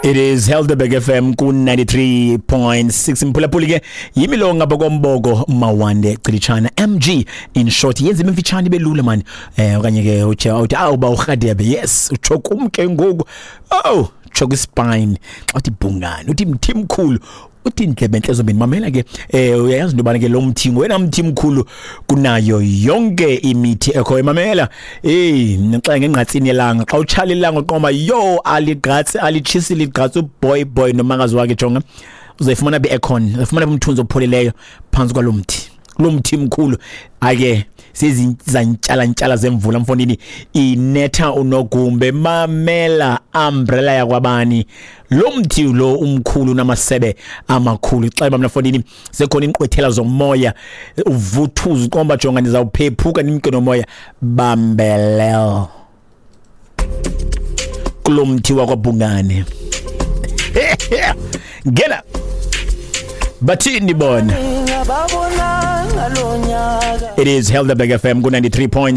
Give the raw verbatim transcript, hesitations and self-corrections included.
It is Helderberg F M ku ninety-three point six. Mphulaphuli ke, yimi lo ngapha komboko, Mawande Cilitshana, M G in short. Yenza imfitshane belula man, eh okanye ke uthi uthi awu ba uRhadebe. Yes, utsho kum ke ngoku. Oh, tsho kwispine xa uthi Bhungane, uthi mthi mkhulu, uthi indlebe entle zombini. Mamela ke, eh uyayazi into yobana ke lo mthi ngowena mthi mkhulu kunayo yonke imithi ekhoyo. Mamela, eh xa ngengqatsini yelanga, xa utshala ilanga, uqoma yo, aligqatsi, alitshisi, ligqatsi uboy boy nomakazi wakhe. Jonga, uzayifumana bi-aircon, uzayifumana umthunzi opholileyo phantsi kwalo mthi, lo mthi mkhulu. Ake sezizantyala zemvula mfondini, inetha unogumbe. Mamela, umbrella yakwabani? Lo mthi lo umkhulu namasebe amakhulu. Xa mna mfondini sekhona inqwethela zomoya, uvuthuza, uqomba jonga, ndizawuphephuka nimke nomoya. Bambelel kulo mthi wakwaBhungane. Ngena bathini bona? It is Helderberg F M ku ninety-three point six.